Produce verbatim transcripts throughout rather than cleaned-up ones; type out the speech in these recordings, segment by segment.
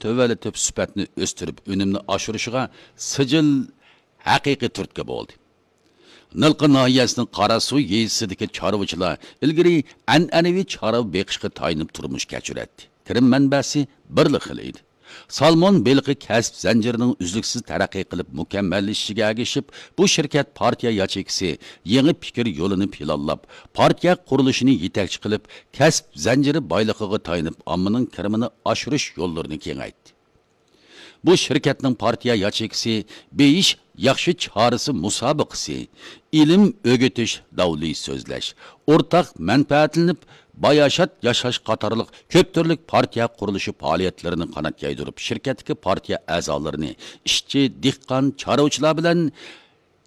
تۆۋەنلىتىپ، سۈپەتنى ئۆستۈرۈپ، ئۈنۈمنى ئاشۇرۇشىغا سىجىل ھەقىقىي تۈرتكە بولدى. نىلقا ناھىيەسىنىڭ قاراسۇ يېزىسىدىكى چارۋىچىلار ئىلگىرى ئەنئەنىۋى چارۋا بېقىشقا تايىنىپ تۇرمۇش كەچۈرەتتى. كىرىم مەنبەسى بىرلا خىل ئىدى. سالمون بېلىقى كەسىپ زەنجىرىنىڭ ئۈزلۈكسىز تەرەققىي قىلىپ مۇكەممەللىشىشىگە ئەگىشىپ، بۇ شىركەت پارتىيە ياچېيكىسى يېڭى پىكىر يولىنى پىلانلاپ، پارتىيە قۇرۇلۇشىنى يېتەكچى قىلىپ، كەسىپ زەنجىرى بايلىقىغا تايىنىپ، ئاممىنىڭ كىرىمىنى ئاشۇرۇش يوللىرىنى كېڭەيتتى. بۇ شىركەتنىڭ پارتىيە ياچېيكىسى بېيىش ياخشى چارىسى مۇسابىقىسى، ئىلىم ئۆگىتىش، داۋلى سۆزلەش، ئورتاق مەنپەئەتلىنىپ باياشات ياشاش قاتارلىق كۆپ تۈرلۈك پارتىيە قۇرۇلۇشى پائالىيەتلىرىنى قانات يايدۇرۇپ، شىركەتتىكى پارتىيە ئەزالىرىنى ئىشچى، دېھقان، چارۋىچىلار بىلەن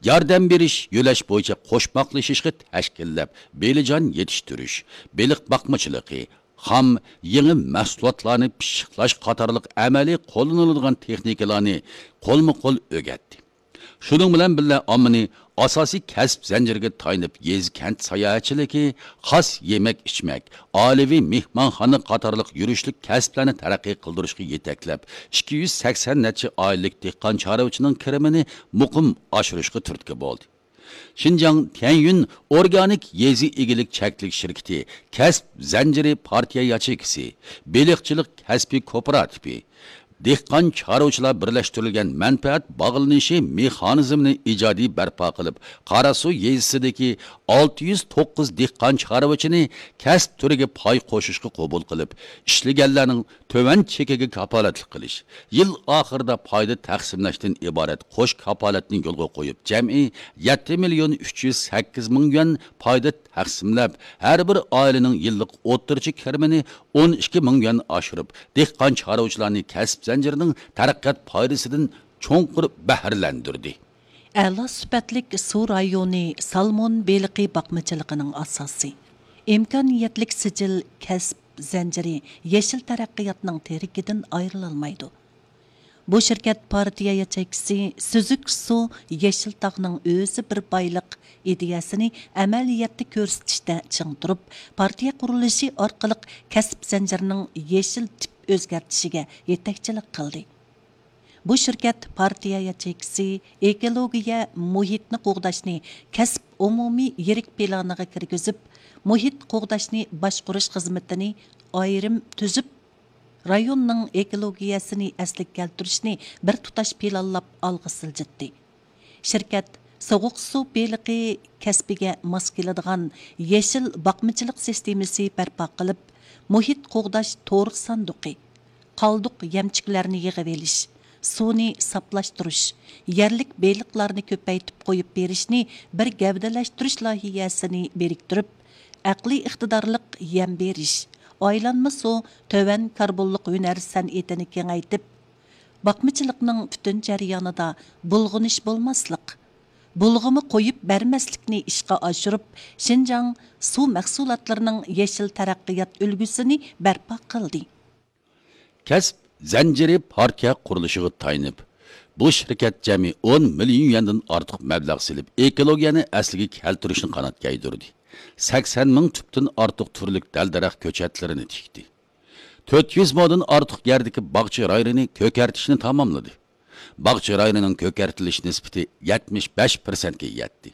ياردەم بېرىش، يۆلەش بويىچە قوشماقلىشىشقا تەشكىللەپ، بېلىجان يېتىشتۈرۈش، بېلىق باقمىچىلىقى، خام، يېڭى مەھسۇلاتلارنى پىششىقلاش قاتارلىق ئەمەلىي قوللىنىلىدىغان تېخنىكىلارنى قولمۇ قول ئۆگەتتى. شۇنىڭ بىلەن بىللە، ئاممىنى ئاساسىي كەسىپ زەنجىرىگە تايىنىپ، يېزا كەنت ساياھەتچىلىكى، خاس يېمەك ئىچمەك، ئائىلىۋى مېھمانخانا قاتارلىق يۈرۈشلۈك كەسىپلەرنى تەرەققىي قىلدۇرۇشقا يېتەكلەپ، ئىككى يۈز سەكسەن نەچچە ئائىلىلىك دېھقان چارۋىچىنىڭ كىرىمىنى مۇقىم ئاشۇرۇشقا تۈرتكە بولدى. شىنجاڭ تيەنيۈن ئورگانىك يېزا ئىگىلىك چەكلىك شىركىتى كەسىپ زەنجىرى پارتىيە ياچېيكىسى، بېلىقچىلىق كەسپىي كوپىراتىپى، دېھقان چارۋىچىلار بىرلەشتۈرۈلگەن مەنپەئەت باغلىنىشى مېخانىزمىنى ئىجادىي بەرپا قىلىپ، قاراسۇ يېزىسىدىكى ئالتە يۈز توققۇز دېھقان چارۋىچىنى كەسىپ تۈرىگە پاي قوشۇشقا قوبۇل قىلىپ، ئىشلىگەنلەرنىڭ تۆۋەن چېكىگە كاپالەتلىك قىلىش، يىل ئاخىرىدا پايدا تەقسىملەشتىن ئىبارەت قوش كاپالەتنى يولغا قويۇپ، جەمئىي يەتتە مىليون ئۈچ يۈز سەككىز مىڭ يۈەن پايدا تەقسىملەپ، ھەر بىر ئائىلىنىڭ يىللىق ئوتتۇرىچە كىرىمىنى ئون ئىككى مىڭ يۈەن ئاشۇرۇپ، دېھقان چارۋىچىلارنى كەسىپ زەنجىرىنىڭ تەرەققىيات پايدىسىدىن چوڭقۇر بەھرىلەندۈردى. ئەلا سۈپەتلىك سۇ رايونى سالمون بېلىقى باقمىچىلىقىنىڭ ئاساسى، ئىمكانىيەتلىك سىجىل كەسىپ زەنجىرى يېشىل تەرەققىياتنىڭ تىرىكىدىن ئايرىلالمايدۇ. بۇ شىركەت پارتىيە ياچېيكىسى سۈزۈك سۇ يېشىل تاغنىڭ ئۆزى بىر بايلىق ئىدىيەسىنى ئەمەلىيەتتە كۆرسىتىشتە چىڭ تۇرۇپ، پارتىيە قۇرۇلۇشى ئارقىلىق كەسىپ زەنجىرىنىڭ يېشىل تىپ ئۆزگەرتىشىگە يېتەكچىلىك قىلدى. بۇ شىركەت پارتىيە ياچېيكىسى ئېكولوگىيە مۇھىتنى قوغداشنى كەسىپ ئومۇمىي يىرىك پىلانىغا كىرگۈزۈپ، مۇھىت قوغداشنى باشقۇرۇش خىزمىتىنى ئايرىم تۈزۈپ، رايوننىڭ ئېكولوگىيەسىنى ئەسلىگە كەلتۈرۈشنى بىر تۇتاش پىلانلاپ ئالغا سىلجىتتى. شىركەت سوغۇق سۇ بېلىقى كەسپىگە ماس كېلىدىغان يېشىل باقمىچىلىق سىستېمىسى بەرپا قىلىپ، مۇھىت قوغداش تورۇق ساندۇقى، قالدۇق يەمچۈكلەرنى يىغىۋېلىش، سۇنى ساپلاشتۇرۇش، يەرلىك بېلىقلارنى كۆپەيتىپ قويۇپ بېرىشنى بىر گەۋدىلەشتۈرۈش لايىھەسىنى بىرىكتۈرۈپ، ئەقلىي ئىقتىدارلىق يەم بېرىش، ئايلانما سۇ، تۆۋەن كاربونلۇق ھۈنەر سەنئىتىنى كېڭەيتىپ، باقمىچىلىقنىڭ پۈتۈن جەريانىدا بۇلغىنىش بولماسلىق، بۇلغىما قويۇپ بەرمەسلىكنى ئىشقا ئاشۇرۇپ، شىنجاڭ سۇ مەھسۇلاتلىرىنىڭ يېشىل تەرەققىيات ئۈلگىسىنى بەرپا قىلدى. كەسىپ زەنجىرى پارتىيە قۇرۇلۇشىغا تايىنىپ، بۇ شىركەت جەمئىي ئون مىليون يۈەندىن ئارتۇق مەبلەغ سېلىپ، ئېكولوگىيەنى ئەسلىگە كەلتۈرۈشنى قانات يايدۇردى. سەكسەن مىڭ تۈپتىن ئارتۇق تۈرلۈك دەل-دەرەخ كۆچەتلىرىنى تىكتى. تۆت يۈز مودىن ئارتۇق يەردىكى باغچە رايونىنى كۆكەرتىشنى تاماملىدى. باغچە رايونىنىڭ كۆكەرتىلىش نىسبىتى يەتمىش بەش پىرسەنتكە يەتتى.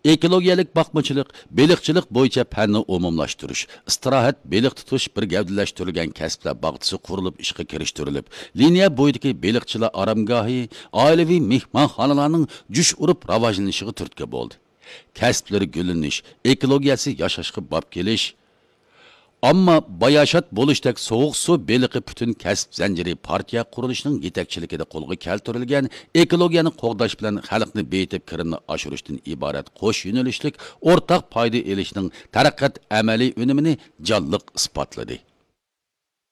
ئېكولوگىيەلىك باقمىچىلىق، بېلىقچىلىق بويىچە پەننى ئومۇملاشتۇرۇش، ئىستىراھەت، بېلىق تۇتۇش بىر گەۋدىلەشتۈرۈلگەن كەسىپلەر باغچىسى قۇرۇلۇپ ئىشقا كىرىشتۈرۈلۈپ، لىنىيە بويىدىكى بېلىقچىلار ئارامگاھى، ئائىلىۋى مېھمانخانىلارنىڭ جۇش ئۇرۇپ راۋاجلىنىشىغا تۈرتكە بولدى. كەسىپلىرى گۈللىنىش، ئېكولوگىيەسى ياشاشقا باب كېلىش، ئامما باياشات بولۇشتەك سوغۇق سۇ بېلىقى پۈتۈن كەسىپ زەنجىرى پارتىيە قۇرۇلۇشىنىڭ يېتەكچىلىكىدە قولغا كەلتۈرۈلگەن ئېكولوگىيەنى قوغداش بىلەن خەلقنى بېيىتىپ، كىرىمنى ئاشۇرۇشتىن ئىبارەت قوش يۆنىلىشلىك ئورتاق پايدا ئېلىشنىڭ تەرەققىيات ئەمەلىي ئۈنۈمىنى جانلىق ئىسپاتلىدى.